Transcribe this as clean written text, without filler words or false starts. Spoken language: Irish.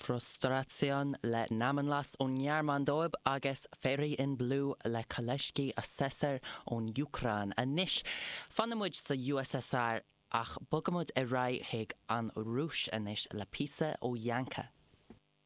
Frustration le Namenlos ón nGearmáin dóibh agus Fairy in Blue le Kolezhsky Assessor ón Úcráin. Anois, fanfaidh muid sa USSR ach bogfaidh muid ar aghaidh chuig an Rúis anois le píosa ó Yanka.